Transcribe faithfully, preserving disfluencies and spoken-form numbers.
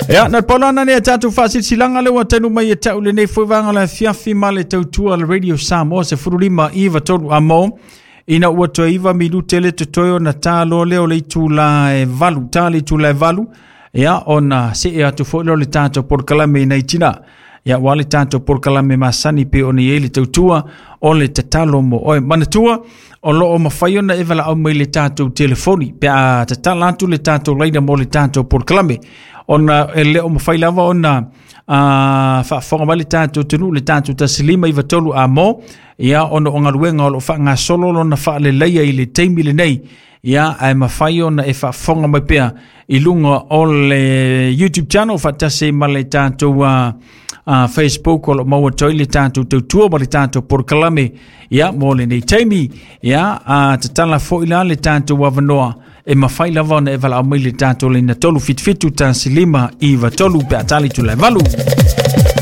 Ia, na paulana nei a tatou faasilasilaga le ua tainu mai e ta'u lenei foi vaega o le afiafi ma le tautua le Radio Samoa sefululima iva tolu amo ina ua toe iva minute le totoe ona tā loa lea o le itulā e valu, tā le itulā e valu, ia ona see atu foi lea o le tatou polokalame i nai tinā. Ia ua le tatou polokalame masani pe ona i ai le tautua o le tatalo mo oe. Manatua, o loo mafai ona e valaau mai le tatou telefoni pe a tatala atu le tatou laina mo le tatou polokalame ona e le o mafai lava ona uh, faafofoga mai le tatou atunuu le tatou tasi lima iva tolu amo, ia ona o galuega o loo faagasolo lona faaleleia i le taimi lenei. Ia ae mafai ona e faafofoga mai pea i luga o le YouTube channel faatasi ma le tatou uh, uh, Facebook o lo maua toi le tatou tautua ma le tatou polokalame ia mo lenei taimi. Ia uh, tatala foi la le tatou avanoa e mafai lava ona e valaau mai le tatou laina tolu fitu fitu tasi lima iva tolu pe a tali tula e valu.